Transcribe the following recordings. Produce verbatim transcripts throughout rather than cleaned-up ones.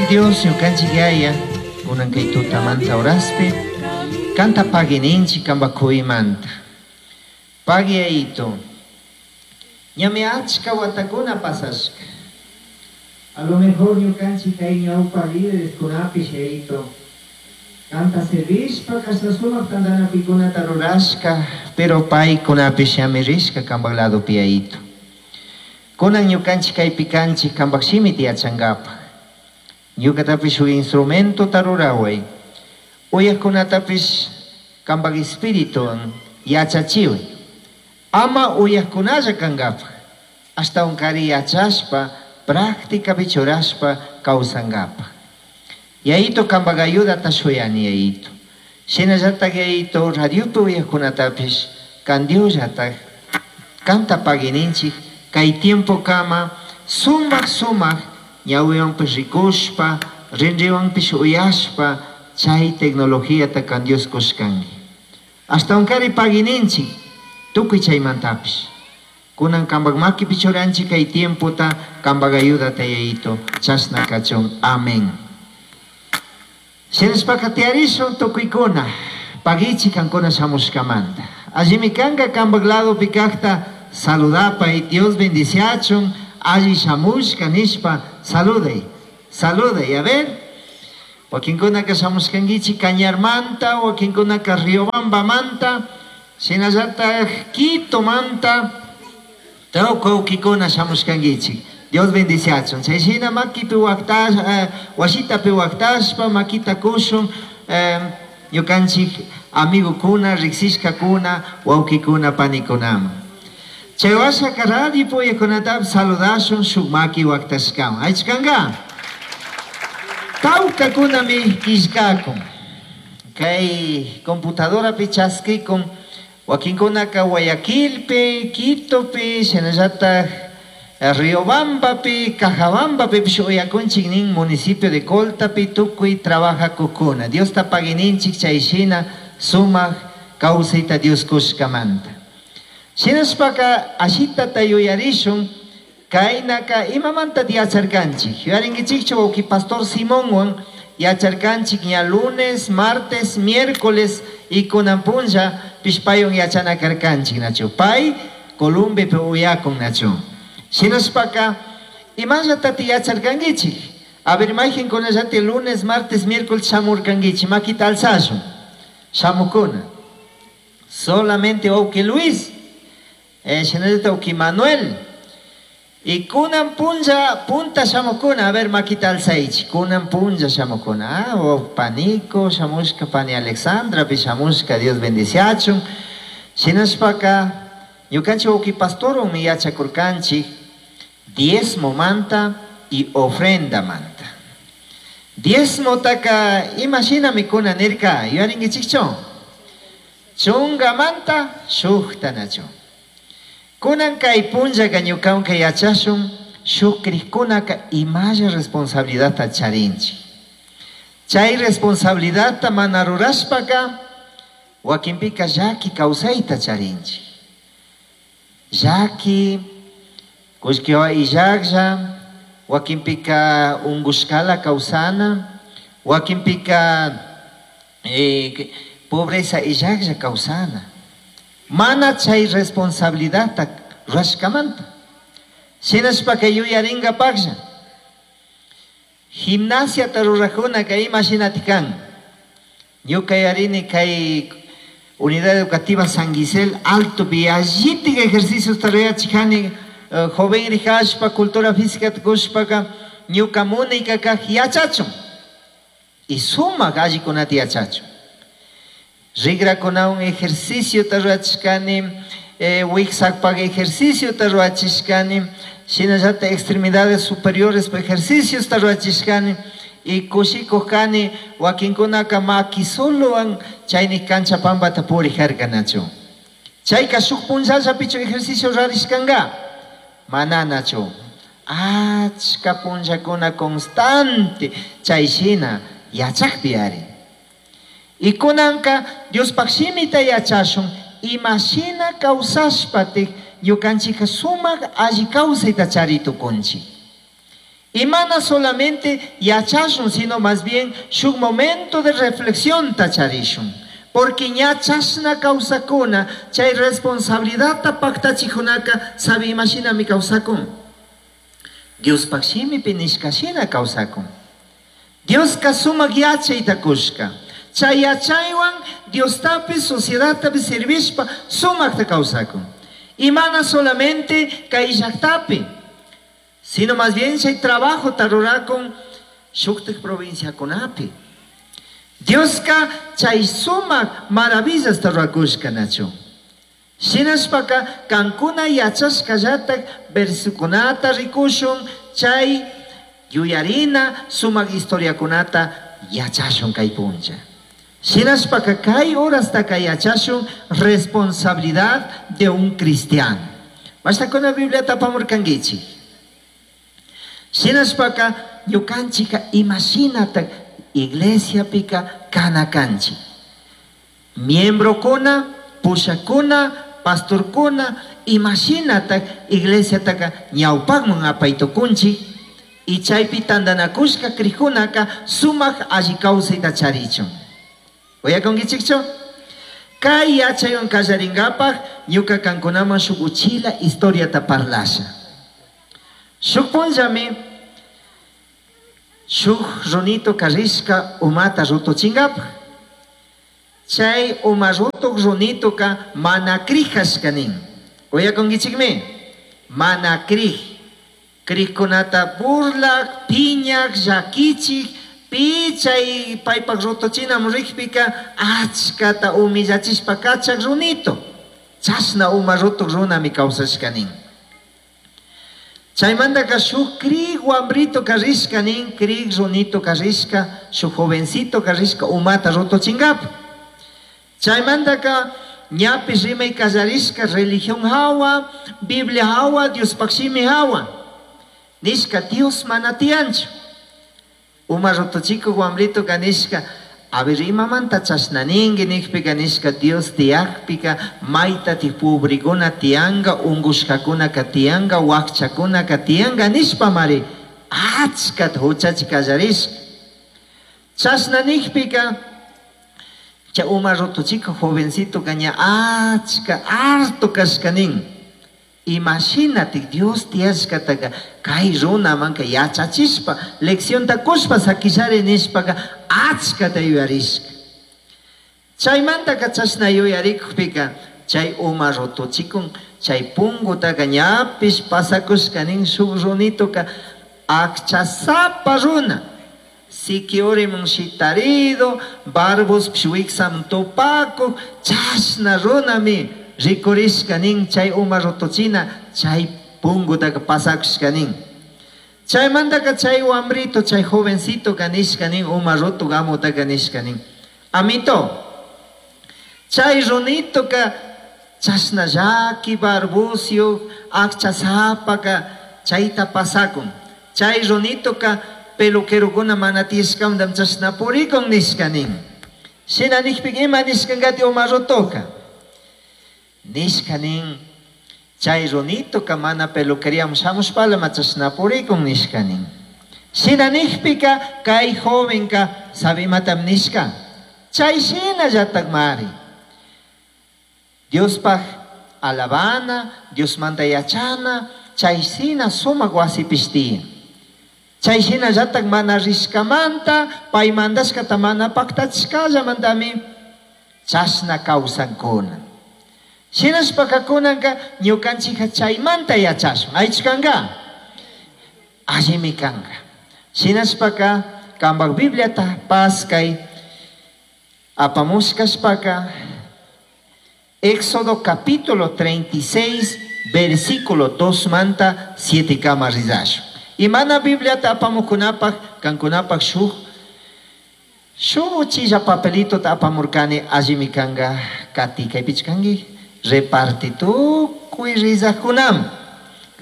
Ñukanchik Dios, ñukanchik Yaya, kunan kay tutamanta horaspi, kanta pagui ninchik kanpak kuymanta. Pagui, Yayito. Ñami achka watakuna pasashka. A lo mejor ñukanchik kay ñawpa líderes kunapish, Yayito, kanta servishpa kashna sumak tantanakuykunata rurashka, pero paykunapish ñami rishka kanpak ladopi, Yayito. Kunan ñukanchik kaypi kanchik kanpak shimita yachankapaj. Ñukatapish shuk instrumentota ruraway. Uyajkunatapish kanpak espirituwan yachachiway. Ama uyajkunalla kankapaj. Ashtawankari yachashpa, prácticapi churashpa kawsankapaj. Yayito, kanpak ayudata shuyani, Yayito. Shinallatak, Yayito, radiopi uyajkunatapish kan Diosllatak kanta pagui ninchik kay tiempo kama sumak sumak ñawiwanpish rikushpa, rinriwanpish uyashpa chay tecnologiata kan Dios kushkanki. Ashtawankari pagui ninchik tukuy chaymantapish. Kunan kanpak makipi churanchik kay tiempota, kanpak ayudata, Yayito, chashna kachun. Amén. Shinashpaka tiyarishun tukuykuna, paguichik kankuna shamushkamanta. Allimi kanka kanpak ladopi kakta saludapay, Dios bendiciachun, alli shamushka nishpa saluday, saluday, a ver. Wakinkunaka shamushkankichik Cañarmanta, wakinkunaka Riobambamanta, shinallatak Quitomanta, tukuy wawkikuna shamushkankichik. Dios bendiciachun. Chay shina makipi waktash, eh, washitapi waktashpa makita kushun, eh, ñukanchik amigokuna, riksishkakuna, wawkikuna, panikunaman. Chay washaka radio uyajkunatapish saludashun shuk maki waktashkawan. Aychkanka? Tawkakunami killkakun. Kay computadorapi chaskikun wakinkunaka Guayaquilpi, Quitopi, shinallatak Riobambapi, Cajabambapipish uyakunchik nin municipio de Coltapi tukuy trabajacukuna. Diosta pagui ninchik chay shina sumak kawsayta Dios kushkamanta. Shinashpaka ashitata yuyarishun kaynaka imamanta yacharkanchik. Yuyarinkichikchu wawki pastor Simonwan yacharkanchik ña lunes, martes, miércoles y kunan punlla pishpaywan yachana karkanchik nachu. Pay Columbiapi uyakun nachu. Shinashpaka imallatati yacharkankichik. A ver, mayqinkunallati lunes, martes, miércoles shamurkankichik, makita alzashun. Shamukuna. Solamente wawki Luis, eh, shinallata wawki Manuel. Y kunan punlla punta shamukuna, a ver, makita alzaychik, kunan punlla shamukuna. Ah, oh, panico shamushka, pani Alexandra pi shamushka, Dios bendiciachun. Shinashpaka ñukanchik wawki pastorwanmi yachakurkanchik diezmomanta y ofrendamanta. Diezmotaka ima shinami kuna nirka, yuyarinkichikchu? Chungamanta shukta nachu. Kunan kay punllaka ñukanka yachashun shuk krikkunaka imalla responsabilidadta charinchik. Chay responsabilidadta mana rurashpaka wakinpika llaki kawsayta charinchik. Llaki, kullkiwa illaklla, wakinpika ungushkala kawsana, wakinpika eh, pobreza illaklla kawsana. Mana chay responsabilidadta rurashkamanta. Shinashpaka yuyaringapaklla. Gimnasiata rurajunaka ima shinati kan. Ñuka yarini kay Unidad Educativa San Gisel Alto allitik ejercicios rurachikani, eh, joven rihashpa cultura física kushpaka ñuka munayka kaj yachachun. Y sumak allikunata yachachun. Rikrakunawan ejercicio rurachishkani, eh, wiksakpak ejercicio rurachishkani, shinallata extremidades superiores ejercicios rurachishkani, y kushikuj kani wakinkunaka maki solowan chayni cancha pampata purijarkanachu. Chayka shuk punllallapichu ejercicio rurarishkanka? Mananachu. Achka punllakuna constante chay shina yachakpi ari. Y kunanka Diospaj shimita yachashun ima shina kawsashpatik ñukanchika sumak alli kawsayta chari tukunchik. Y mana solamente yachashun, sino más bien shuk momento de reflexión tacharishun. Porque ña chashna kawsakuna, chay responsabilidad paktachijunaka, sabi imashinami kawsakun. Diospaj shimipi nishka shina kawsakun. Dioska sumak yachayta kushka. Chay yachaywan Diostapi, sociedadtapi servishpa sumakta kawsakun. Y mana solamente kay llaktapi, sino más bien chay trabajo tarurakun shuktik provinciakunapi. Dioska chay sumak maravillas rurakushka nachu. Shinashpaka kankuna yachashkallatak versikunata rikushun chay yuyarina sumak historiakunata yachashun kay punlla. Shinashpaka kay horastaka yachashun responsabilidad de un cristiano. Basta con la Biblia tapamurkankichik. Shinashpaka ñukanchika imashinata iglesia pika kanakanchik. Miembro kuna, pushakuna, pastor kuna, imashinata iglesia taka ñawpakman apaytukunchik. Y chaypi tantanakushka krijkunaka sumak alli kawsayta charichun. Uyakunkichikchu? Kay yachaywan kallarinkapak ñuka kankunaman shuk uchila historiata parlasha. Shuk punllami shuk runito karishka umata rutuchinkapaj. Chay uma rutuk runituka mana krijashka nin. Uyakunkichikmi? Mana krij. Krijkunata burlak, piñak, llakichik, pi chay paypak rutuchinamun rikpika achkata humillachishpa kachak runito. Chashna uma rutuk runami kawsashka nin. Chaymantaka shuk krij wambrito karishka nin, krij runito karishka, shuk jovencito karishka umata rutuchinkapa. Chaymantaka ñapish rimay kallarishka religión hawa, Biblia hawa, Diospaj shimi hawa. Nishka Dios mana tiyanchu. Uma rutuchikuk wambrito nishka, a ver imamanta chashna ninki nikpika nishka Dios tiyakpika maytatik pobrikuna tiyanka, unkushkakunaka tiyanka, wakchakunaka tiyanka nishpamari achkata huchachi kallarishka. Chashna nikpika chay uma rutuchikuk jovencito ña achka harto kashka nin. Imashinatik Dios tiyashkataka kay runamanka yachachishpa leccionta kushpa sakishari nishpaka achkata yuyarishka. Chaymantaka chashna yuyarikukpika chay uma rutuchikun chay punkutaka ñapish pasakushka nin shuk runituka akchasapa runa. Sikiurimun shitarido, barbuspish wiksamun tupakuk, chashna runami rikurishka nin chay uma rutuchina chay punkutaka pasakushka nin. Chaymantaka chay wambrito, chay jovencito nishka nin, uma rutuk amutaka nishka nin. Amito, chay runitoka chashna llaki barbusio, akchasapaka chayta pasakun. Chay runitoka peluquerokuna mana tiyashkamanta chashna purikun nishka nin. Shina nikpika ima nishkankati uma rutuka? Nishka nin, chay runitoka mana peluqueriaman shamushpala chashna purikun nishka nin. Shina nikpika kay jovenka sabi imatam nishka? Chay shinallatakmari. Diospaj alabana, Diosmanta yachana, chay shina sumak wasipish tiyan. Chay shinallatak mana rishkamanta, pay mandashkata mana paktachishkallamantami chashna kawsankuna. Shinashpaka kunanka ñukanchika chaymanta yachashun. Aychu kanka? Allimi kanka. Shinashpaka kanpak Bibliata paskay apamushkashpaka Éxodo capítulo treinta y seis, versículo dos manta siete kama rizashun. Y mana Bibliata apamukunapaj, kankunapaj shuk, shuk uchilla papelito ta apamurkani allimi kanka kati kaypichkanki reparti tukuy rizajkunam.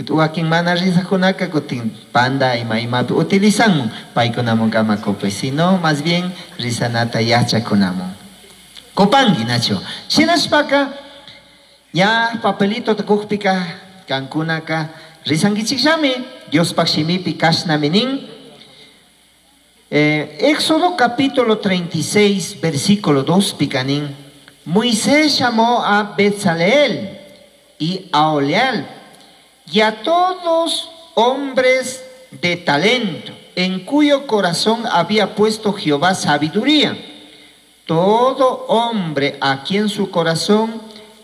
Wakin mana rizajkunaka kutin panda ima imapi utilizanmun paykunamun kama kupay, sino más bien rizanata yachakunamun. Kupanki nacho. Shinashpaka ya papelito tukukpika kankunaka rizankichikllami Diospaj shimipi kashnami nin. Eh, Éxodo capítulo treinta y seis, versículo dos, pica nin. Moisés llamó a Bezaleel y a Oholiab y a todos hombres de talento, en cuyo corazón había puesto Jehová sabiduría. Todo hombre a quien su corazón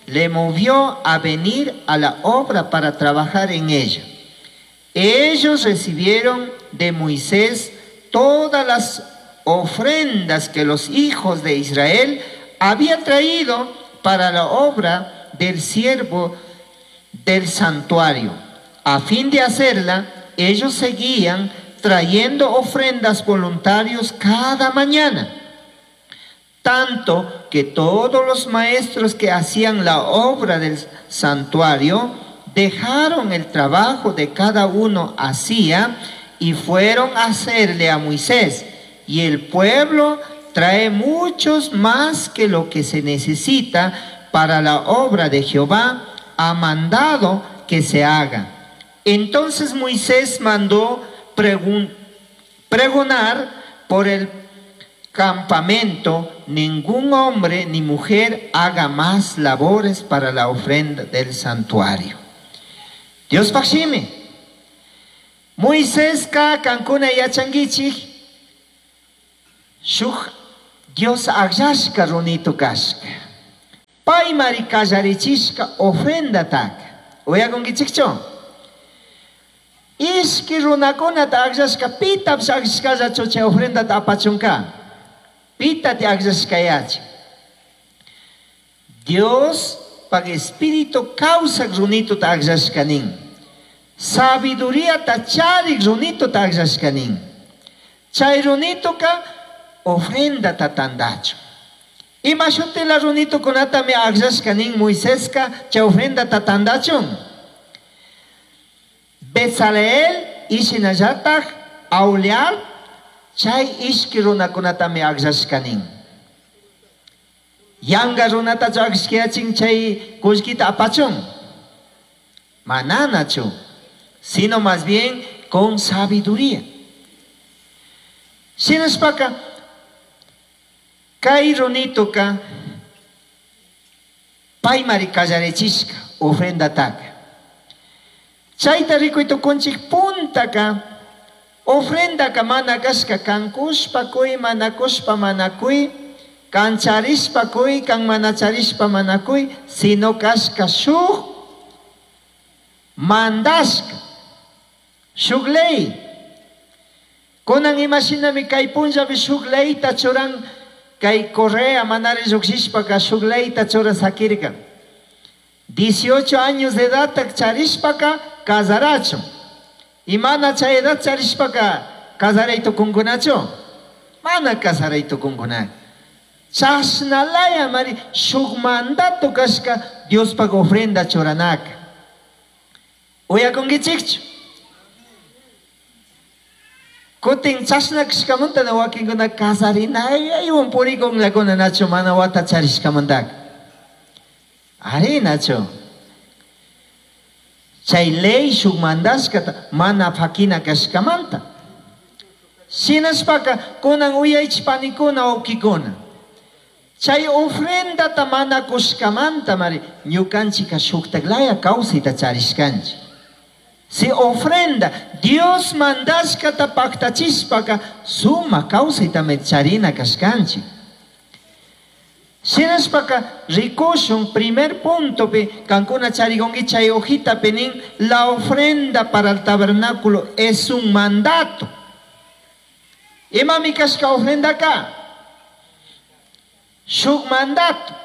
le movió a venir a la obra para trabajar en ella. Ellos recibieron de Moisés todas las ofrendas que los hijos de Israel habían traído para la obra del siervo del santuario. A fin de hacerla, ellos seguían trayendo ofrendas voluntarios cada mañana, tanto que todos los maestros que hacían la obra del santuario dejaron el trabajo de cada uno hacía y fueron a hacerle a Moisés. Y el pueblo trae muchos más que lo que se necesita para la obra de Jehová ha mandado que se haga. Entonces Moisés mandó pregun-, pregonar por el campamento: ningún hombre ni mujer haga más labores para la ofrenda del santuario. Dios pajshimi. Moisés ka kankuna yachanguichik, shuj Dios agllashka runito kashka. Paymari kallarichishka ofrenda taka. Uyakunkichikchu? Ishki runakunata agllashka, pitapish agllashkallachu chay ofrendata apachunka? Pitati agllashkayachi? Dios pag espíritu kawsak runituta agllashka nin. Sabiduría charik runituta agllashka nin. Chay runituka ofrendata tandachu. Ima shutila runitukunatami agllashka nin Moiseska chay ofrendata tandachun. Bezaleel ishinallataj Aholiab chay ishki runakunatami agllashka nin. Yanga runatachu agllashkayachin chay kullkita apachun. Mananachu, sino más bien con sabiduría. Shinashpaka kay runituka paymari kallarichishka ofrendataka. Chayta rikuy tukunchik puntaka ofrendaka mana kashka kankushpa kuy, mana kushpa mana kuy, kancharishpa kuy, kan mana charishpa mana kuy, sino kashka shuk mandashka, shuk ley. Kunan imashinami kay punllapi shuk leyta churan, kay Correa manari lluqshishpaka shuk leyta churasakirka. dieciocho años de edad charishpaka casarachu. Y mana chay edad charishpaka casaray tukunkunachu? Mana casaray tukunkuna. Chashnalaya mari shuk mandato kashka Diospaq ofrenda churanaka. Uyakunkichikchu? Kutin chashna kashkamanta na wakinkuna casarinayaywan purikunllakuna nachu mana wata charishkamantaka. Ari nachu. Chay ley shuk mandashkata mana fakina kashkamanta. Shinashpaka kunan uyaychik panikuna wawkikuna. Chay ofrendata mana kushkamanta mari ñukanchika shuktaklaya kawsayta charishkanchik. Si ofrenda Dios mandashkata paktachishpaka suma kawsaytami charina kashkanchik. Shinashpaka rikushun primer puntopi kankuna charigongi chay hojitapi nin la ofrenda para el tabernáculo es un mandato. Imami kashka ofrenda ka? Shuk mandato.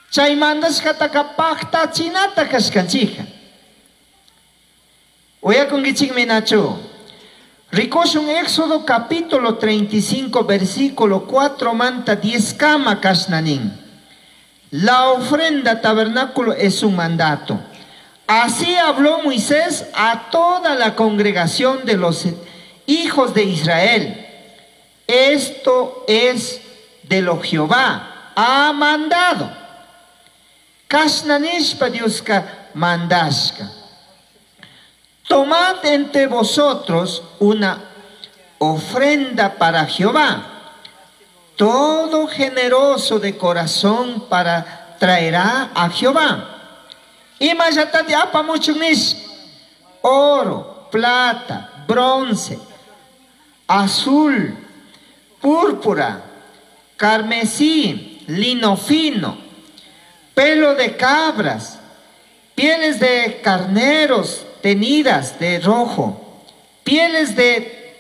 Chay mandashkataka paktachinata kashkanchika. Uyakunkichikmi nachu. Rikushun Éxodo capítulo treinta y cinco, versículo cuatro manta diez kama kashnanin. La ofrenda tabernáculo es un mandato. Así habló Moisés a toda la congregación de los hijos de Israel. Esto es de lo Jehová ha mandado. Kashnanishpa Dioska mandashka. Tomad entre vosotros una ofrenda para Jehová. Todo generoso de corazón para traerá a Jehová. Imallatati apamuchun nish oro, plata, bronce, azul, púrpura, carmesí, lino fino, pelo de cabras, pieles de carneros teñidas de rojo, pieles de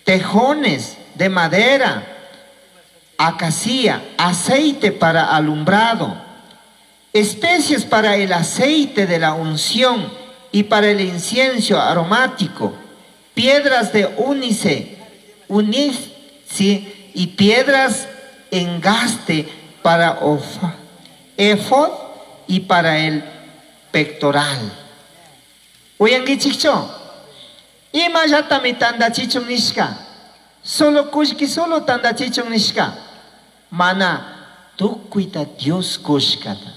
tejones de madera, acacia, aceite para alumbrado, especies para el aceite de la unción y para el incienso aromático, piedras de ónice, ónice y piedras engaste para efod y para el pectoral. Uyanguichikchu? Imallatami tandachichun nishka. Solo kullki solo tandachichun nishka. Mana tukuyta Dios kushkata.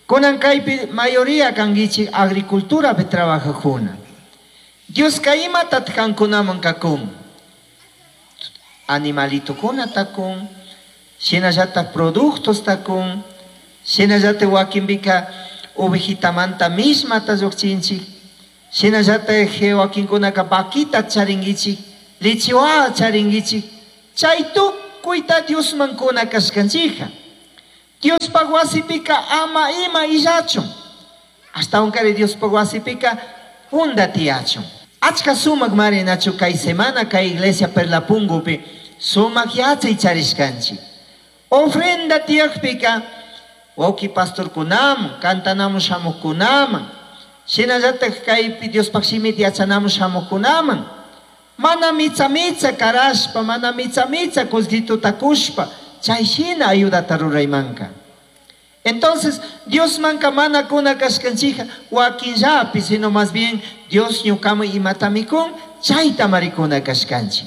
Kunan kaypi mayoría kanguichik agriculturapi trabajajuna. Dioska imatataq kankunaman kakun. Animalitokuna takun, shinallatak productos takun, shinallatak wakinpika ovejitamanta mishmata llukchinchik, shinallatak wakinkunaka vaquita charinguichik, lechewa charinguichik, chay tukuyta Diosman kuna kashkanchikka. Diospaj wasipika ama ima illachun. Ashtawankari Diospaj wasipika junda tiyachun. Achka sumak mari nachu kay semana kay iglesia Perlapungupi sumak yachay charishkanchik. Ofrenda tiyakpika wawki pastorkunaman, cantanamun shamuqkunaman, shinallatak kaypi Diospaj shimita yachanamun shamuqkunaman, mana mitsa mitsa karashpa, mana mitsa mitsa kullkituta kushpa, chay shina ayudata ruraymanka. Entonces, Diosmanka mana kuna kashkanchija wakinllapi, sino más bien Dios ñukaman imatami kun, chayta marikuna kashkanchik.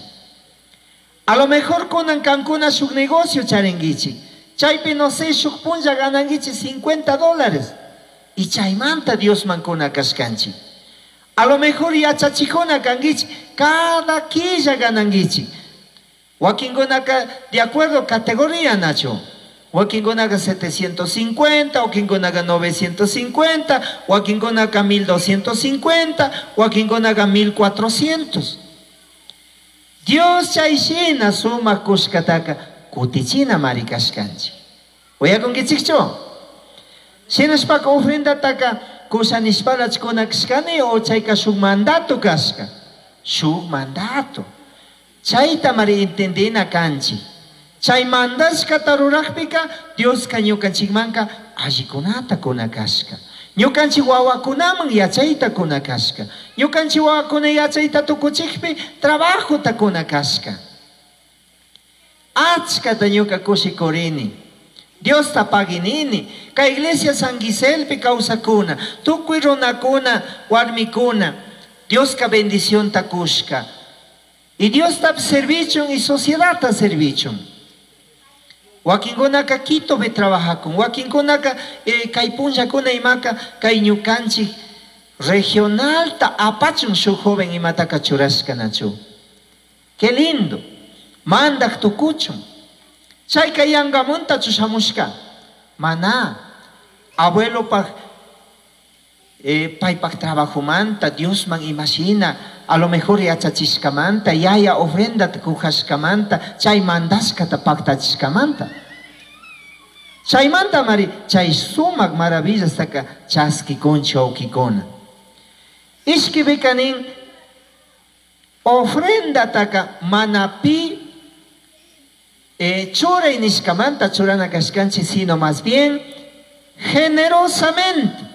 A lo mejor kunan kankuna shuk negocio charinguichik. Chaypi no sé, shuk punlla gananguichik cincuenta dólares. Y chaymanta Diosman kuna kashkanchik. A lo mejor yachachikuna kanguichik, cada quilla gananguichik. Wakinkunaka de acuerdo categoría, Nacho. Wakinkunaka setecientos cincuenta, wakinkunaka novecientos cincuenta, wakinkunaka mil doscientos cincuenta, wakinkunaka mil cuatrocientos. Dios chayshina sumak kushkataka kutichina mari kashkanchik. Uyakunkichikchu? Shinashpaka ofrendataka kushanishpalach kuna kashkani o chayka shuk mandato kashka. Shuk mandato. Chayta mari entendina kanchik. Chay mandashkata rurajpika Dioska ñukanchikmanka allikunata kuna kashka. Ñukanchik wawakunaman yachayta kuna kashka. Ñukanchik wawakuna yachayta tukuchikpi trabajota kuna kashka. Achkata ñuka kushikurini. Diosta paginini. Kay iglesia San Giselpi kawsakuna. Tukuy runakuna, warmikuna. Dioska bendicionta kushka. Y Diosta servichun y sociedadta servichun. Wakinkunaka Quitopi trabajakun, wakinkunaka, eh, kay punllakuna imaka kay ñukanchik regionalta apachun shuk joven imataka churashka nachu. Qué lindo. Mandak tukuchun. Chayka yangamunta chushamushka. Mana. Abuelopaj, eh, paypaj trabajomanta, Diosman imashina, a lo mejor yachachishkamanta, yaya ofrenda kujashkamanta, chay mandashkata paktachishkamanta. Chaymanta mari, chay sumak maravillastaka chaskikunchi wawkikuna. Ishkipika nin, ofrendataka mana pi, eh, churay nishkamanta churana kashkanchik, sino más bien generosamente.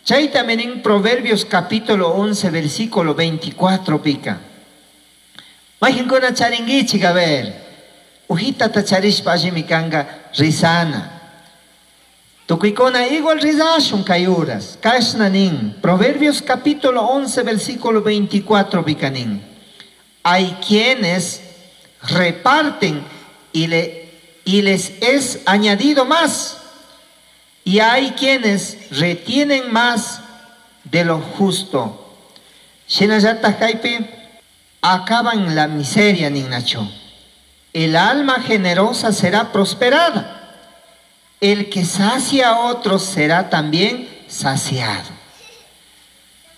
Chayta nin Proverbios capítulo once, versículo veinticuatro pica. Mayqinkuna charinguichik, a ver. Ujitata charishpa allimi kanga rizana. Tukuykuna igual rizashun kay uras. Kashna nin. Proverbios capítulo once, versículo veinticuatro pica nin. Hay quienes reparten y, le, y les es añadido más. Y hay quienes retienen más de lo justo. Shinallataj kaypi acaban la miseria ninnachu. El alma generosa será prosperada. El que sacia a otros será también saciado.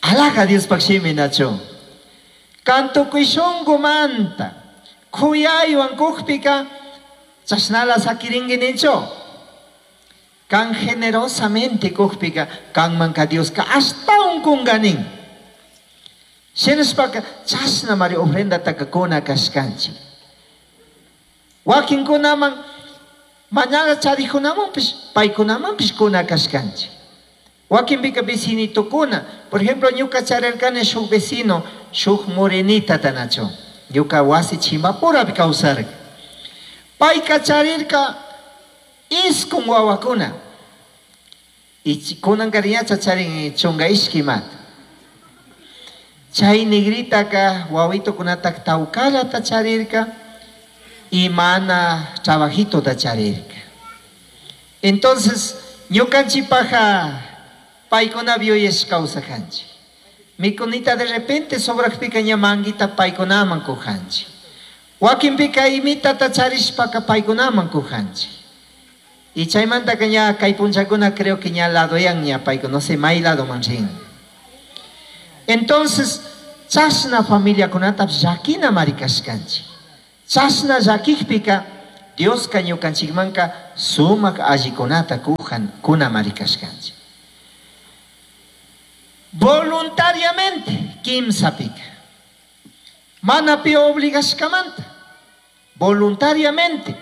Alhaja Diospaj shimi nachu. Kan tukuy shunkumanta kuyaywan kukpika chashnala sakirinki ninchu. Kan generosamente kukpika kanmanka Dioska ashtawan kunga nin. Shinashpaka chashnamari ofrendataka kuna kashkanchik. Wakinkunaman mañana charikunamanpish paykunamanpish kuna kashkanchik. Wakinpika vecinitukuna, por ejemplo, ñuka charirkani shuk vecino, shuk morenita tanachu. Ñuka wasi chimbapurapi kawsarka. Payka charirka iskun wawakuna. Y kunankariñacha charin chunka ishkimata. Chay negritaka wawitukunata tawkallata charirka y mana trabajitota charirka. Entonces, ñukanchikpaja paykunapi yuyashka kawsakanchik. Mikunita de repente sobrakpika ña manguita paykunaman kujanchik. Wakinpika imitata charishpaka paykunaman kujanchik. Y chaymantaka ña kay punchakuna creo que ña ladoyan ña paykuna, no sé, may ladoman rin. Entonces, chashna familiakunata llakinamari kashkanchik. Chashna llakikpika Dioska ñukanchikmanka sumak allikunata kujan kunamari kashkanchik. Voluntariamente, kimsapika. Mana pi obligashkamanta. Voluntariamente.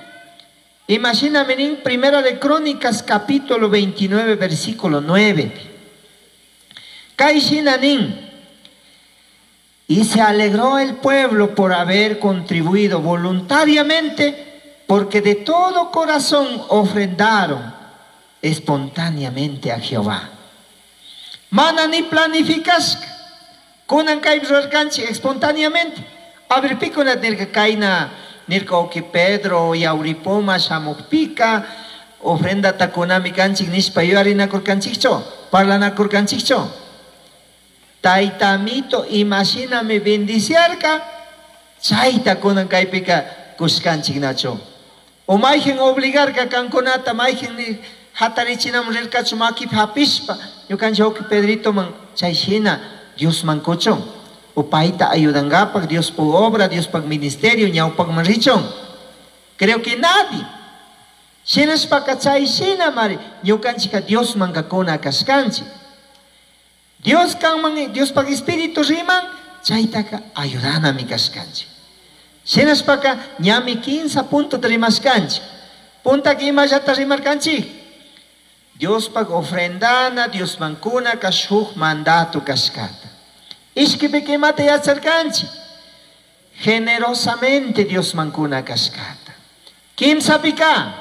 Imagina nin Primera de Crónicas capítulo veintinueve versículo nueve. Kay shina nin. Y se alegró el pueblo por haber contribuido voluntariamente, porque de todo corazón ofrendaron espontáneamente a Jehová. Mana ni planificashka. Kunan kay rurarkanchik espontáneamente. A ver, pikuna nirka kayna nirka uki Pedro Yauripoma shamukpika ofrendata kunami kanchik nishpa yuyarinakurkanchikchu, parlanakurkanchikchu. Taytamito imashinami bendiciarka, chayta kunan kaypika kushkanchik nachu. O mayhin obligarka kankunata, mayhin ni hatarichinaman rirkachu makipi hapishpa, ñukanchik uki Pedrito man chay shina Diosman kuchun. O payta ayudangapak, Diospaj obra, Diospaj ministerio, ñawpakman richun. Creo que nadie. Shinashpaka chay shina mari, ñukanchika Diosmanka kuna kashkanchik. Dios kanman, Diospaj espíritu riman, chaytaka ayudanami kashkanchik. Shinashpaka ñami kinsa punto rimashkanchik. Puntaka imallata rimarkanchik. Diospaj ofrendana, Diosman kunaka shuk mandato kashkata. Ishkipika imata yacharkanchik. Generosamente Diosman kuna kashkata. Kimsapika,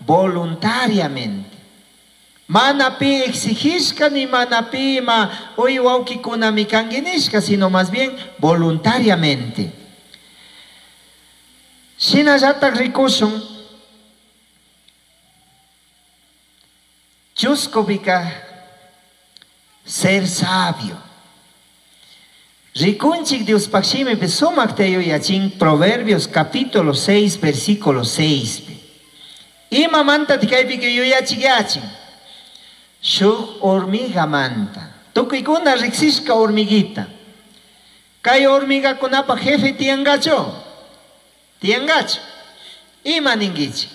voluntariamente. Mana pi exigishka ni mana pi ima uy wawkikunami kanki nishka, sino más bien voluntariamente. Shinallatak rikushun chuskupika ser sabio. Rikunchik Diospaj shimipi sumakta yuyachin Proverbios capítulo seis versículo seis. Imamanta kaypika yuyachik yachin. Shuk hormigamanta. Tukuykuna riksishka hormiguita. Kay hormigakunapa jefe tiyangachu. Tiyangachu. Ima ninkichik.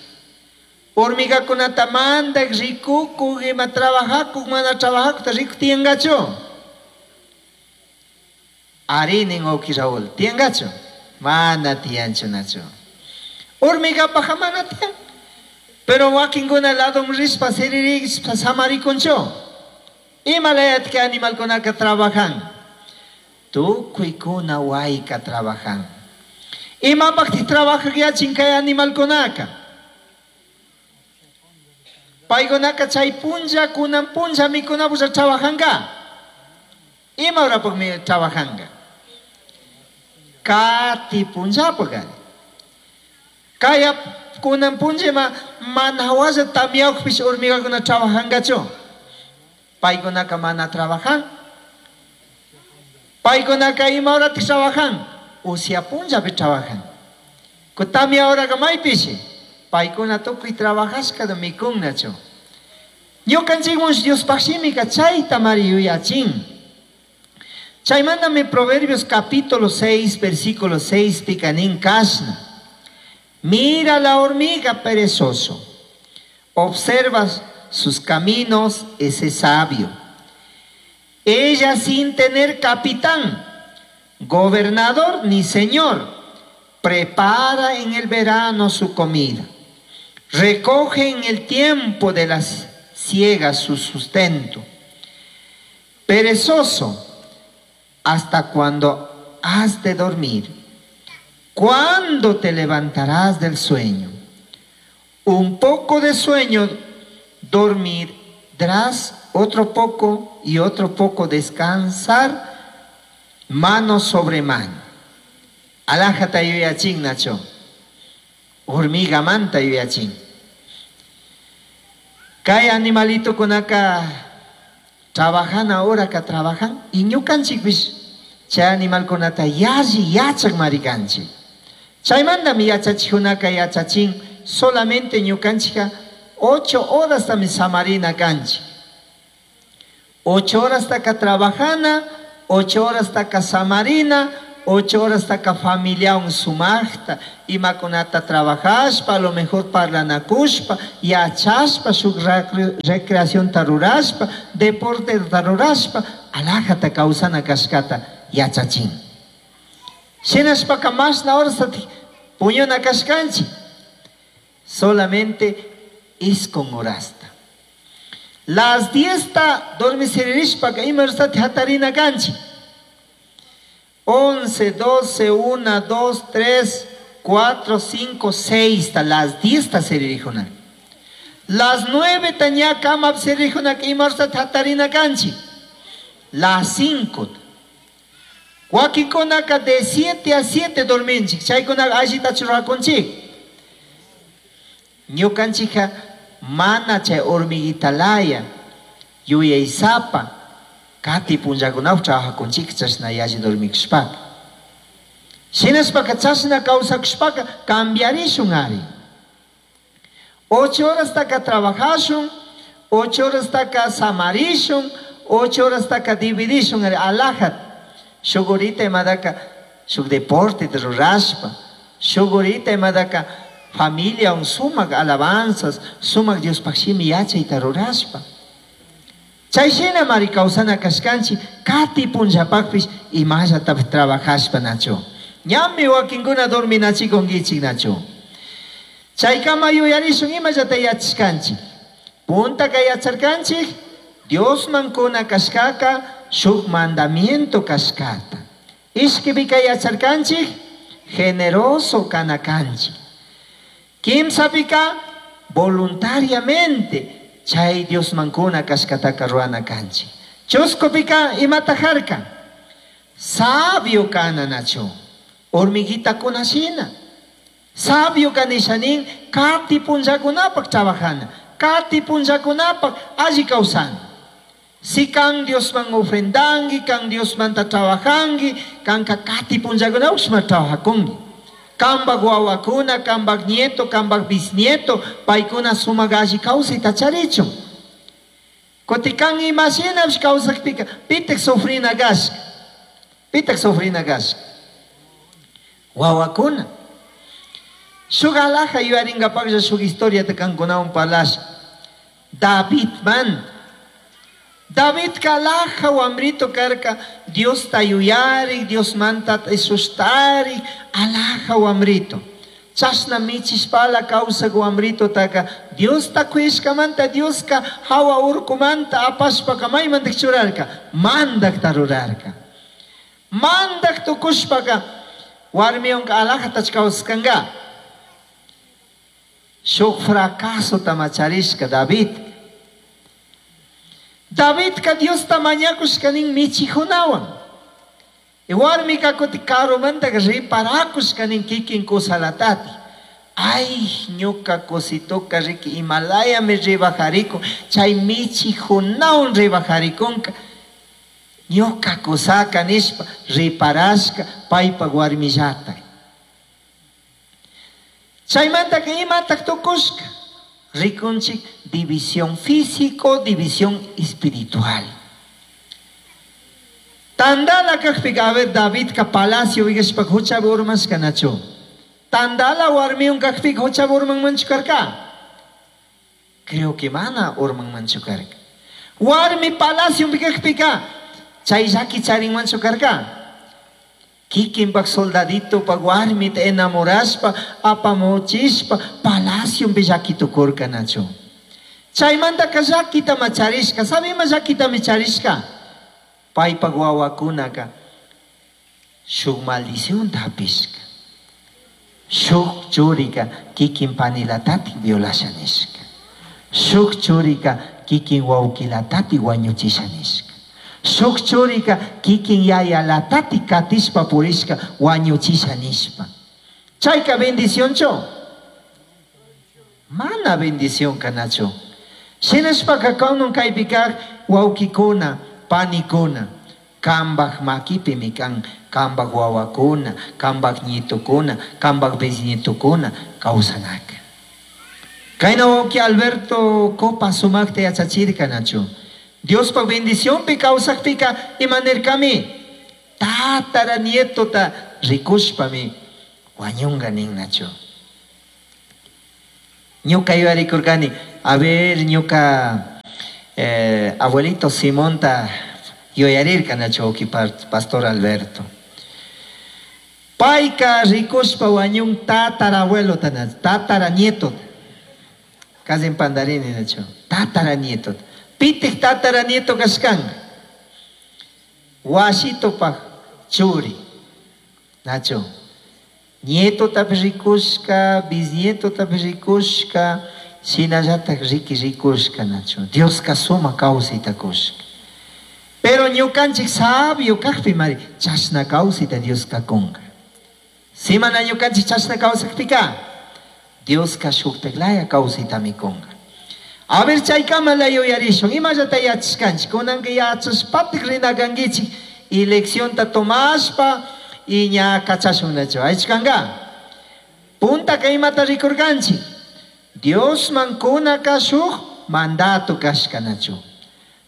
Hormigakunata mandak rikukuk ima trabajakuk mana trabajakukta riku tiyangachu. Ari nin uki Raúl. Tiyangachu. Mana tiyanchu nachu. Hormigapaja mana tiyan. Pero wakinkuna ladom rishpa siririshpa samarikunchu. Ima layat que animalkunaka trabajan. Tukuykuna wayka trabajan. Imapaqti trabajak yachin kay animalkunaka. Paykunaka chay punlla kunan punlla mikunapulla trabajanka. Ima horapaqmi trabajanka. Kati punllapaq ari. Kaya kunan punlla ma mana hawalla tamyawpish hormigakuna trabajankachu. Paykunaka mana trabajan. Paykunaka ima horatik trabajan? Usya punllapi trabajan. Tamia horaka maypishi? Paykuna tukuy trabajashkata mikunnachu. Ñukanchikmun Diospaj shimika chayta mari yuyachin. Chaymantami Proverbios capítulo seis, versículo seis pika nin kashna. Mira la hormiga perezoso, observa sus caminos ese sabio. Ella sin tener capitán, gobernador ni señor, prepara en el verano su comida, recoge en el tiempo de las siegas su sustento. Perezoso, ¿hasta cuando has de dormir? ¿Cuándo te levantarás del sueño? Un poco de sueño dormirás, otro poco y otro poco descansar, mano sobre mano. Alajata yuyachin nacho. Hormiga manta yuyachin. Kay animalito kunaka trabajan ahora ka trabajan y ñukanchikpish chay animalkunata yalli yachak marikanchik. Chaymantami yachachijunaka yachachin solamente ñukanchika ocho horas tami samarina kanchik. Ocho horas taka trabajana, ocho horas taka samarina, ocho horas taka familiawan sumaqta, imakunata trabajashpa, a lo mejor parlanakushpa, yachashpa, shuk recreación rurashpa, deporte rurashpa, alajata kawsana kashkata yachachin. Shinashpaka mashna horas puñuna kashkanchik, solamente iskun horasta. Las diez ta dormisiririshpaka ima horastati hatarina kanchik. Once, doce, una, dos, tres, cuatro, cinco, seis, ta las diez ta siririjuna. Las nueve ta ña kama siririjuna ima horastati hatarina kanchik. Las cinco. Wakinkunaka de siete a siete dorminchik, chaykunaka allitachu rurakunchik. Ñukanchikka mana chay hormiguitalaya yuyaysapa kati punllakunapi trabajakunchik chashna yalli dormikushpaka. Shinashpaka chashna kawsakushpaka cambiarishun ari. Ocho horas taka trabajashun, ocho horas taka samarishun, ocho horas taka dividishun ari alajat. Shuk horita imadaka shuk deporte rurashpa, shuk horita imadaka familia un sumak alabanzas, sumak Diospaj shimi yachayta rurashpa. Chay shina mari kawsana kashkanchik kati punllapakpish imallatapish trabajashpa nachu. Ñami wakinkuna dorminachikunkichik nachu. Chaykama yuyarishun imallata yachashkanchik. Puntaka yacharkanchik Diosman kuna kashkaka shuk mandamiento kashkata. Ishkipika yacharkanchik generoso kanakanchik. Kimsapika voluntariamente chay Diosman kuna kashkataka ruana kanchik. Chuskupika imata harka sabio kana nachu. Hormiguita kunashina. Sabio kanishanin kati punllakunapak trabajana, kati punllakunapak alli kawsana. Si kan Diosman ofrendangi, kan Diosmanta trabajangi, kanka kati punllakunapak trabajakungi. Kambak wawakuna, kambak nieto, kambak bisnieto, paykuna sumak alli kawsayta charichun. Kutikan imashinapish kawsakpika, pitak sufrina kashka, pitak sufrina kashka. Wawakuna. Shuk alaja yuyaringapaklla shuk historiata kankunawan parlasha. David man. David kalaja wamrito karka, Dios tayuyari, Dios manta esustari, alaja wamrito. Chashna michishpala kawsak wamrito taka, Dios takuishkamanta, Dios ka hawa urkumanta apashpaka maymantak churarka, mandak tarurarka. Mandak tukushpaka, warmiyonka alaja tachkawskanka. Shuk fracaso tamacharishka David. Davidka Diosta mañakushkanin michijunawan. Y warmika kuti karumanta riparakushkanin kikin kusalatati. Ay, ñuka kusituka riki Himalaya mi ribajariko, chay michijunawan ribajarikunka. Ñuka kusaka nishpa riparashka paypak warmillata. Chaymantaka imatak tukushka? Rikunchik división físico, división espiritual. Tandala kakpika, a ver, Davidka palacio vigashpa huchapi urmashka nachu. Tandala warmiwan kakpika huchapi urmanmanchu karka? Creo que mana urmanmanchu karka. Warmi palacio kakpika chay llaki charinmanchu karka? Kikinpak soldaditopak warmita enamorashpa apamuchishpa palaciompi llaki tukurka nachu. Chaymantaka llakitama charishka, sabe ima llakitami charishka? Paypak wawakunaka shuk maldicionta hapishka. Shuk churika kikin panilatati violasha nishka. Shuk churika kikin wawkilatati wañuchisha nishka. Shuk churika kikin yayalatati katishpa purishka wañuchisha nishpa. Chayka bendicionchu? Mana bendición kanachu. Shinashpaka kunan kaypi kak wawkikuna, panikuna, kambak makipimi kan, kambak wawakuna, kambak nietukuna, kambak bisnietukuna kawsanaka. Kayna wawki Alberto Copa sumakta yachachirka nachu. Diospa bendicionpi kawsakpika imanirkami tatara nietota rikushpami wañunga nin nachu. Ñuka yuyarikurkani, a ver, ñuka eh, abuelito Simonta yuyarirka nachu wawki pastor Alberto. Payka rikushpa wañun tatara abuelota nachu, tatara nieto. Casi pandarini nachu, tatara nieto. Pitik tatara nieto kashkanka. Washitopak churi. Nacho. Nietotapish rikushka, bisnietotapish rikushka, shinallatak riki rikushka nacho. Dioska suma kawsayta kushka. Pero ñukanchik sabio kakpi mari chashna kawsayta Dioska kunka. Si mana ñukanchik chashna kawsakpika, Dioska shuktaklaya kawsaytami kunka. A ver, chaykamala yuyarishun, imallata yachashkanchik, kunanka yachashpatik rina kankichik y leccionta tomashpa y ña kachashun nachu. Aychkanka. Puntaka imata rikurkanchik. Diosman kunaka shuk mandato kashka nachu.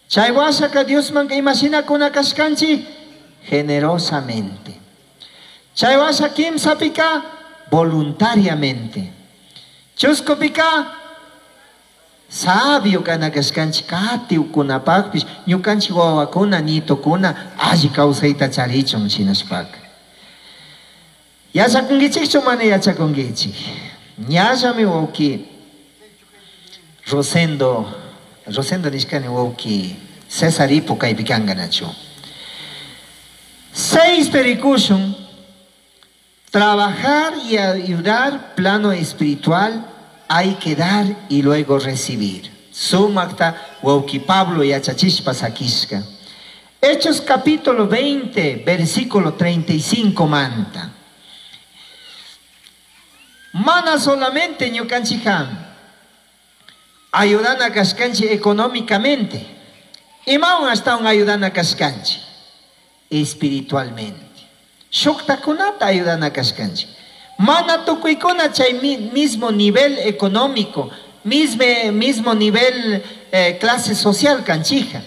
Chay washaka Diosmanka imashina kuna kashkanchik generosamente. Chay washa kimsapika voluntariamente. Chuskupika sabio kana kashkanchik katiwkunapakpish ñukanchik wawakuna nietokuna alli kawsayta charichun shinashpaka. Yachakunkichikchu mana yachakunkichik? Ñallami wawki Rosendo, Rosendo nishkani wawki César Ipo kaypi kanka nachu. Seis perikushun, trabajar y ayudar plano espiritual hay que dar y luego recibir. Sumakta wawki Pablo yachachishpa sakishka. Hechos capítulo veinte, versículo treinta y cinco manta. Mana solamente ñukanchija ayudana kashkanchi económicamente. Imawan ashtawan ayudana kashkanchi espiritualmente. Shuktakunata ayudana kashkanchi. Mana tukuykuna chay mismo nivel económico, mismo, mismo nivel eh, clase social kanchija.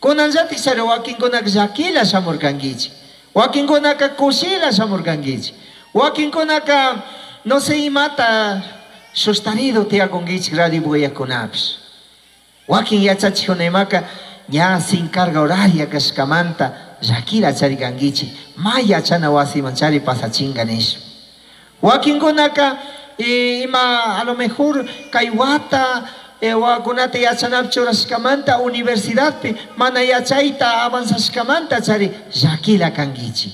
Kunanllatik chari wakinkunaka llakila shamurkankichik. Wakinkunaka kushila shamurkankichik. Wakinkunaka no sé imata sustarido tiyakunkichik radio buyakunapish. Wakin yachachikuna imaka ña sin carga horaria kashkamanta llakila charikankichik. Ma yachana wasiman chari pasachinga nishpa. Wakinkunaka eh, ima a lo mejor kay wata eh, wakunata yachanap churashkamanta universidadpi mana yachayta avanzashkamanta chari llakila kankichik.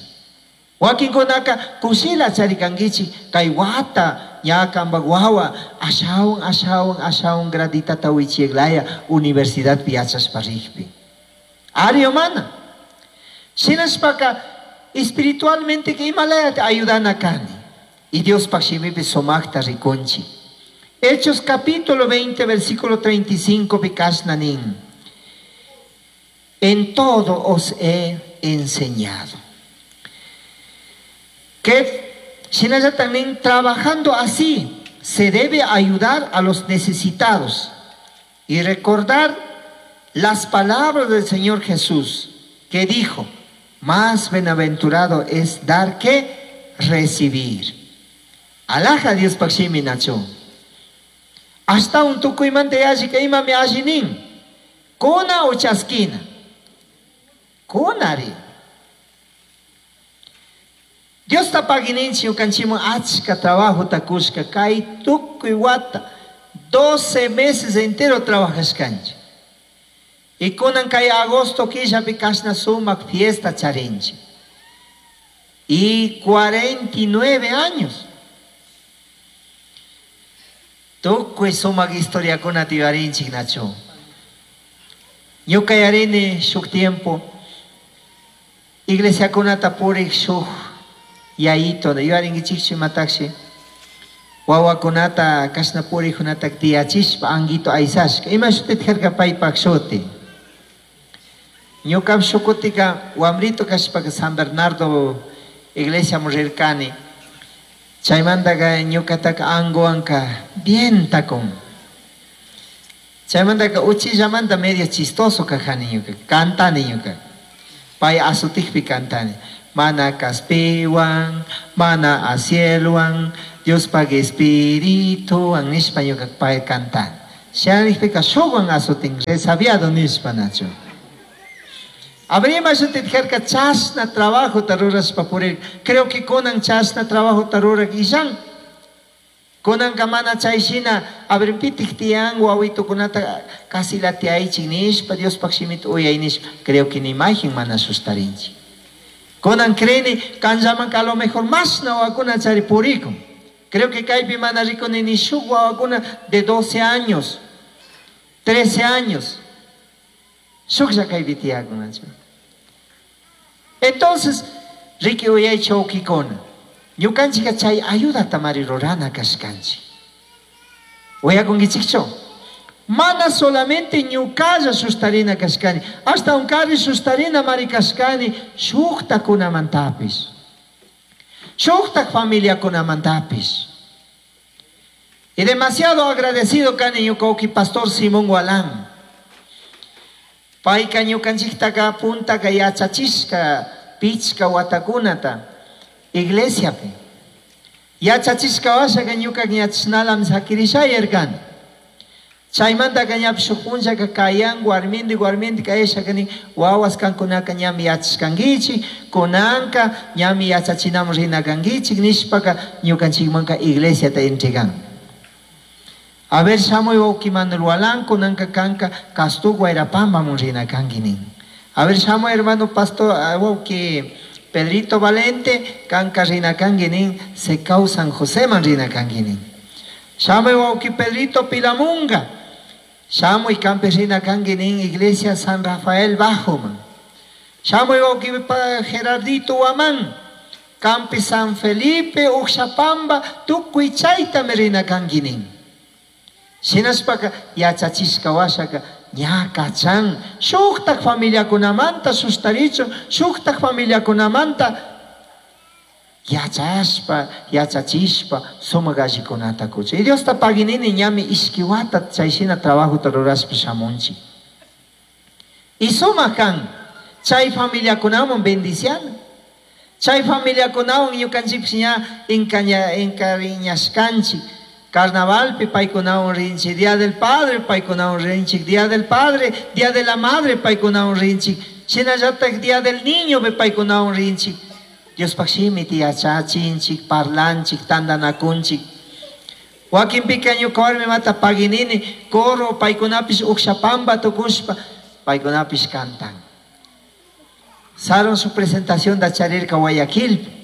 Wakinkunaka kushila chari kankichik kay wata ña kampak wawa ashawan ashawan ashawan graditata wichiklaya universidadpi yachashpa rikpi. Ari o mana. Shinashpaka espiritualmente que imalaya ayudana kani. Y Dios shimipi sumakta rikunchi. Hechos capítulo veinte, versículo treinta y cinco, pikashna nin. en todo os he enseñado. Que también trabajando así se debe ayudar a los necesitados y recordar las palabras del Señor Jesús que dijo: más bienaventurado es dar que recibir. Alhaja Diospaj shimi nachu. Ashtahuan tucuimanta yallika imami alli nin. Cuna o chasquina. Cunari. Diosta pagui ninchik ñukanchikman achka trabajota cushka kay tukuy wata doce meses entero trabajashkanchik. Y kunan kay agosto killapi kashna sumak fiesta charinchik. Y cuarenta y nueve años. Tukuy sumak historiakunata yuyarinchik nachu. Ñuka yarini shuk tiempo iglesiakunata purik shuk yayito yuyarinkichikchu imatakshi wawakunata kashna purikkunata tiyachishpa anguito aysashka. Ima shutit karka paypak shuti. Ñuka shukutika wamrito kashpaka San Bernardo iglesiaman rirkani. Chaymantaka ñukataka anguwanka bien takun. Chaymantaka uchillamanta medio chistoso kajani ñuka, cantani ñuka. Pay asutikpi cantani. Mana kaspiwan, mana acielwan, Diospaj espirituwan nishpa ñuka pay cantani. Shanishpika shukwan asutin, resabiado nishpa nachu. Abrima shutit karka chashna trabajota rurashpa purir. Creo que kunan chashna trabajota rurak illan. Kunanka mana chay shina abrimpitik tiyan wawitukunata casi latiaychik nishpa Diospaj shimita uyay nishpa. Creo que ni imagen mana sustarinchik. Kunan creni kanllamanka a lo mejor mashna wawakuna chari purikun. Creo que kaypi mana rikuni ni shuk wawakuna de doce años, trece años. Shuklla kaypi tiyakunachu. Entonces, riki uyay chawkikuna. Ñukanchika chay ayudata mari rurana kashkanchik. Uyakunkichikchu? Mana solamente ñukalla sustarina kashkani, hasta unkari sustarina mari kashkani shuktakunamantapis, shuktak familiakunamantapis. Y demasiado agradecido kani ñuka uki pastor Simón Walán. Payka ñukanchiktaka puntaka yachachishka pichka watakunata iglesiapi. Yachachishka washaka ñuka ñachnalam sakirishayarkani. Chaymantaka ñapish shuk punllaka kayan warmindi warmindi kayashaka nin wawas kankunaka ñami yachashkankichik, kunanka ñami yachachinamun rina kankichik nishpaka ñukanchikmanka iglesiata entregan. A ver, shamuy wawqi Manuel Walán, kunanka kanka Castú Guairapambamun rina kanki nin. A ver, shamuy hermano pastor, wawqi Pedrito Valente, kanka rina kanki nin, Secau San Joseman rina kanki nin. Shamuy wawqi Pedrito Pilamunga, shamuy kampi rina kanki nin, Iglesia San Rafael Bajoman. Shamuy wawqi Gerardito Huamán, kampi San Felipe, Uxapamba, tukuy chaytami rina kanki nin. Shinashpaka yachachishka washaka ña kachan shuktak familiakunamanta sustarichun, shuktak familiakunamanta yachashpa, yachachishpa sumak allikunata kuchun. Y Diosta paginini ñami ishki wata chay shina trabajota rurashpa shamunchik. Y sumak kan chay familiakunaman bendiciana. Chay familiakunawan ñukanchikpish ña inkaña, encariñashkanchik. Carnavalpi paykunawan rinchik, Día del Padre paykunawan rinchik, Día del Padre, Día de la Madre paykunawan rinchik, shinallatak Día del Niño paykunawan rinchik. Diospaj shimita yachachinchik, parlanchik, tantanakunchik. Wakinpika ñuka warmimata paginini, coro paykunapish ukshapampa tukushpa, paykunapish cantan. Saron su presentación da charirka Guayaquil.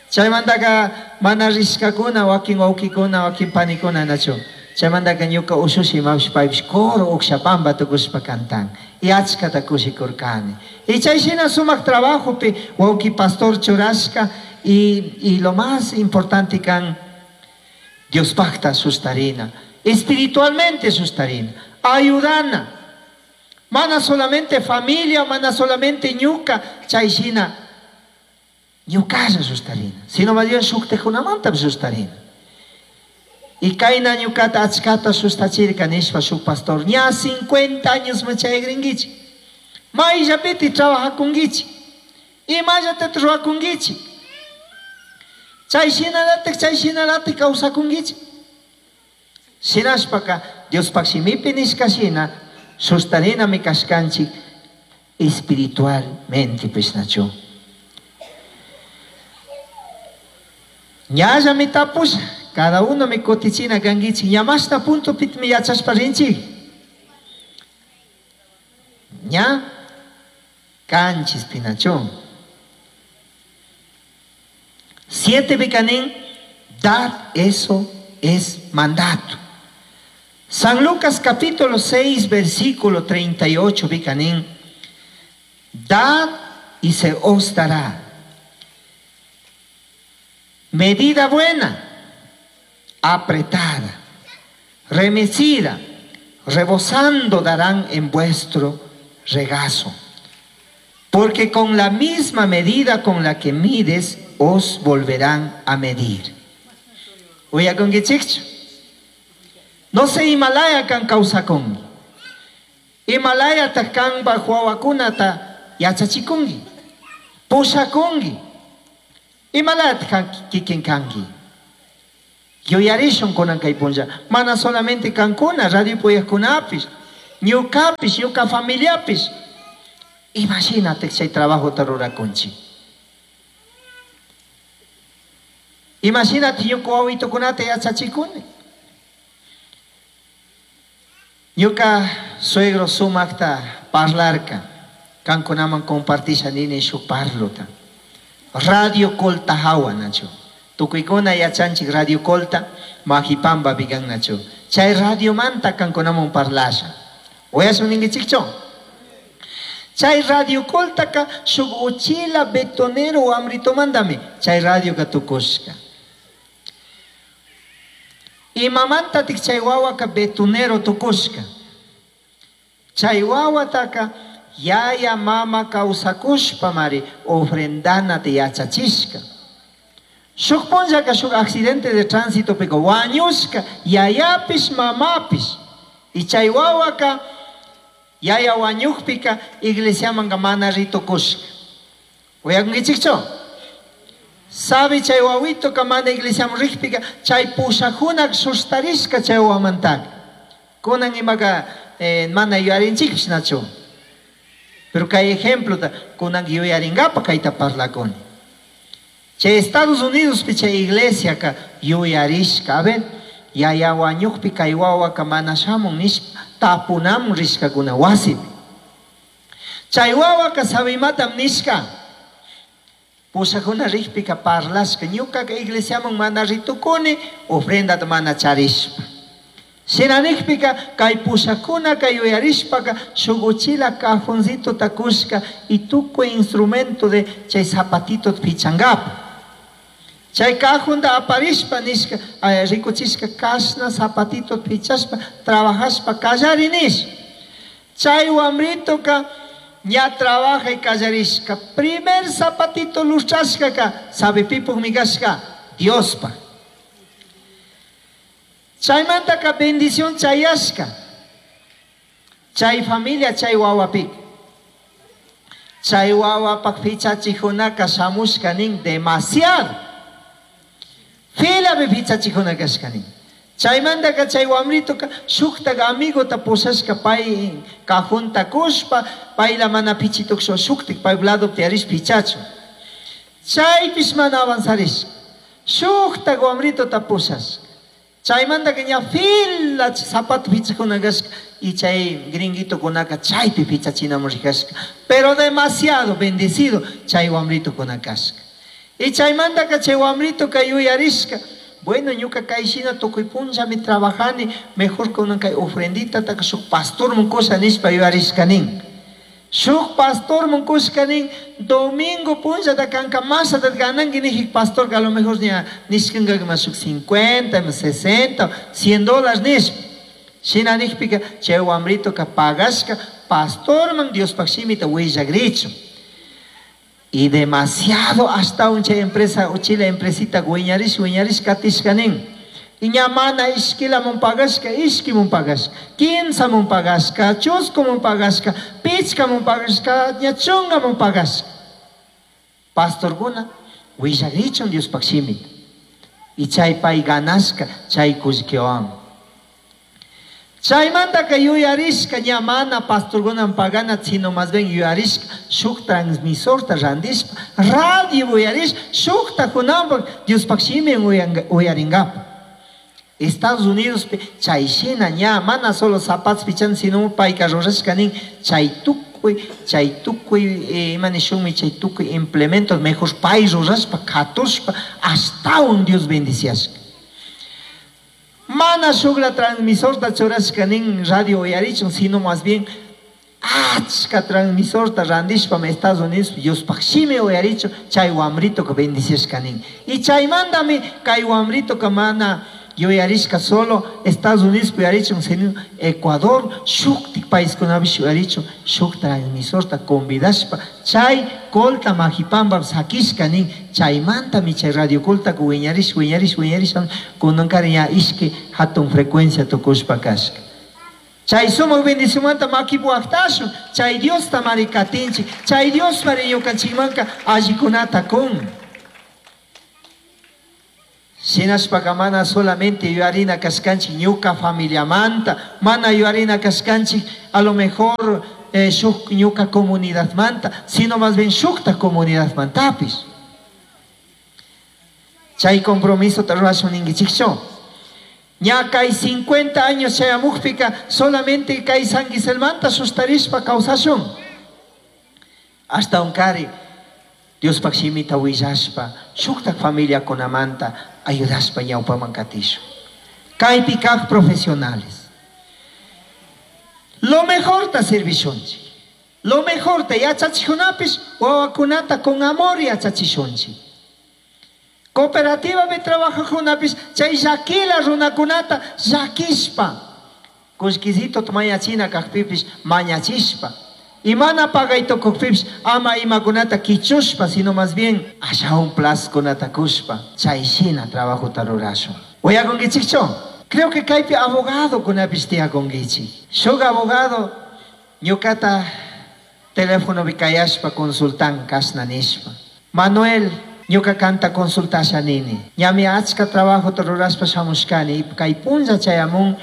Chaymantaka mana rishkakuna, wakin wawkikuna, wakin panikuna nachu. Chaymantaka ñuka ushushi imapish paypish coro ukshapampa tukushpa cantan. Y achkata kushikurkani. Y chay shina sumak trabajopi wawki pastor churashka y, y lo más importante kan Diospajta sustarina, espiritualmente sustarina, ayudana. Mana solamente familia, mana solamente ñuka, chay shina ñukalla sustarina. Sino más bien shuktikunamanta sustarina. Y kayna ñukata achkata sustachirka nishpa shuk pastor, ña cincuenta años machayagringuichi. Mayllapiti trabajakunguichi. Imallata ruwakunguichi. Chay shinalatik, chay shinalatik kawsakunguichi. Shinashpaka Diospaq shimipi nishka shina sustarinami kashkanchik espiritualmente pishnachu. Ñallami tapusha, cada uno mi kutichina kanguichik, ñamashta punto pitmi yachashpa rinchik. Ña kanchis pinachu. Siete bicanín, dad eso es mandato. San Lucas capítulo seis, versículo treinta y ocho, bicanín, dad y se os dará. Medida buena, apretada, remecida, rebosando darán en vuestro regazo. Porque con la misma medida con la que mides, os volverán a medir. Uyakunkichikchu. No se Himalaya kan kawsakunki. Himalaya ta kanpa wawakunata yachachikunki, pushakunki. Himalaya ta kan kikin kanki. Yuyarishun kunan kay punlla. Mana solamente kankuna, radio puyajkunapish, ñukapish, ñuka familiapish. Imagínate chay trabajo ta rurakunchik. Imagínate ñuka wawitukunata yachachikuni. Ñuka suegro sumakta parlarka, kankunaman compartisha nini shuk parluta. Radio Colta hawa nachu. Tukuykuna yachanchik Radio Colta, Majipamba bigan nachu. Chay radio manta kankunaman parlasha. Uyashun ninkichikchu? Chay Radio Coltaka shuk uchila betonero amritomandami. Chay radio ka tukushka. Imamanta tik chay wawaka betonero tukushka. Chay wawataka yaya mama kawsakushpa mari ofrendana te yachachishka. Shuk punllaka shuk accidente de tránsito pika wañushka yayapish mamapish. Y chay wawaka yaya wañukpika iglesiamanka mana ritukushka. Uyakunkichikchu? Sabi chay wawito ka mana iglesiaman rikpika chay pushakunak sustarishka chay wamantaka. Kunan imaka eh, mana yuyarinchikpish nachu. Pero kay ejemplo ta kunan yuyaringapa kayta parlakuni. Chay Estados Unidos pi chay iglesia ka yuyarishka. A ver, yaya wañukpi kay wawaka mana shamun nishpa tapunamun rishkakuna wasipi. Chay wawaka sabimatam nishka. Pushakuna rikpika parlashka ñukaka iglesiaman mana ritukuni ofrendata mana charishpa. Shina nikpika kay pushakunaka yuyarishpaka shuk uchila cajoncito takushka y tukuy instrumento de chay zapatito pichangapa. Chay cajonta aparishpa nishka rikuchishka kashna zapatito pichashpa trabajashpa kallari nish. Chay wamritoka ña trabaja y kallarishka. Primer zapatito lustrashkaka sabe pipuk mikashka Diospa. Chaymantaka bendición chayashka. Chay familia chay wawapik. Chay wawapak fichachijunaka shamushka nin demasiado. Filapi fichachijunaka shka nin. Chaymantaka chay wamritoka shuktaka amigota pushashka pay cajunta kushpa payla mana pichituksho shuktik pay lado tiyarish pichachu. Chaypish mana avanzarishka. Shuktaka wamritota pushashka. Chaymantaka ña fila zapato pichakuna kashka y chay gringuitokunaka chaypi pichachinamun rikashka. Pero demasiado bendecido chay wamritokuna kashka. Y chaymantaka chay wamritoka yuyarishka. Bueno, ñuka kay shina tukuy punllami trabajani, mejor kunan kay ofrendita taka shuk pastor munkusha nishpa yuyarishka nin. Shuk pastor munkushka nin, domingo punllata kanka masata gananki nijik pastor a lo mejor ña nishkanka mas shuk cincuenta, sesenta, cien dólares nishpa. Shina nijpika chay wamritoka pagashka Pastorman Diospaj shimita willagrichun. Y demasiado hasta un chay empresa uchila empresita wiñarish wiñarish katishka nin. Y ña mana ishkilamun pagashka, ishkimun pagashka, kimsamun pagashka, chuskumun pagashka, pichkamun pagashka, ña chungamun pagashka. Pastorkuna willagrichun Diospaj shimita. Y chay pay ganashka chay kullkiwan. Chaymantaka yuyarishka ña mana pastorkunan pagana, sino más bien yuyarishka shuk transmisorta randishpa radio uyarish shukta kunanpak Diospaj shimin uyaringapa. Estados Unidos chay shina ña mana solo zapatos pichan, sino payka rurashka nin chay tukuy chay tukuy ima nishunmi chay tukuy implementos mejor pay rurashpa katushpa ashtawan Dios bendiciashka. Mana shukla transmisorta churashka nin radio uyarichun, sino más bien achka transmisorta randishpa Estados Unidos Diospaj shimi uyarichun chay wamritoka bendiciashka nin. Y chaymantami kay wamritoka mana yuyarishka solo Estados Unidos uyarichun, sino Ecuador shuktik paiskunapish uyarichun shuk transmisorta convidashpa chay Colta Majipamba sakishka nin. Chaymantami chay radio Coltaka wiñarish wiñarish wiñarish kunankari ña ishki hatun frecuencia tukushpa kashka. Chay sumak bendicionmanta makipi waqtashun, chay Diosta mari katinchik, chay Dios mari ñukanchikmanka allikunata kun. Shinashpaka mana solamente yuyarina kashkanchik ñuka familiamanta, mana yuyarina kashkanchik a lo mejor eh, shuk ñuka comunidadmanta, sino más bien shukta comunidadmantapish. Chay compromiso ta rurashun ninkichikchu. Ña kay cincuenta años chayamukpika solamente kay San Giselmanta sustarishpa kawsashun. Hasta un kari Diospaj shimita willashpa shuktak familiakunamanta ayudashpa ñawpaman katishun. Kaypi kaq profesionales. Lo mejor ta servishunchik. Lo mejor ta yachachikunapish wawakunata con amor yachachishunchik. Cooperativa de trabajakunapish chay llakila runakunata llakishpa. Kullkisito mañachina kaqpipish mañachishpa. Y mana pagay tukukpipish ama imakunata kichushpa, sino más bien ashawan plaskunata kushpa. Chay shina trabajota rurashun. Uyakunkichikchu? Creo que kaypi abogado kunapish tiyakunkichik. Shuk abogado ñukata teléfonopi kayashpa consultan kashna nishpa. Manuel, ñuka kanta consultasha nini. Ñami achka trabajota rurashpa shamushkani. Kay punlla chayamun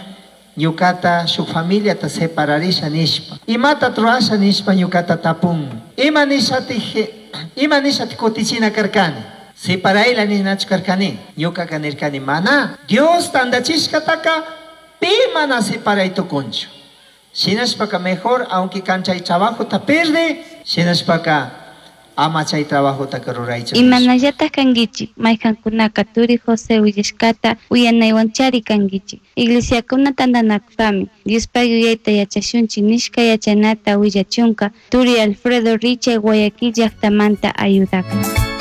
ñukata shuk familiata separarisha nishpa. Imata rurasha nishpa ñukata tapun. Ima nishati, ima nishati kutichina karkani. Separayla ninachu karkani. Ñukaka nirkani mana. Dios tandachishkataka pi mana separay tukunchu. Shinashpaka mejor aunque kan chay trabajota pierde, shinashpaka ama chay trabajotaka ruraychu. Imanallataj kankichik, mayqankunaka turi José willashkata uyanaywanchari kankichik. Iglesiakuna tantanakushpami Diospaj yuyayta yachashunchik nishka yachanata willachunka turi Alfredo Richa Guayaquil llaktamanta ayudakun.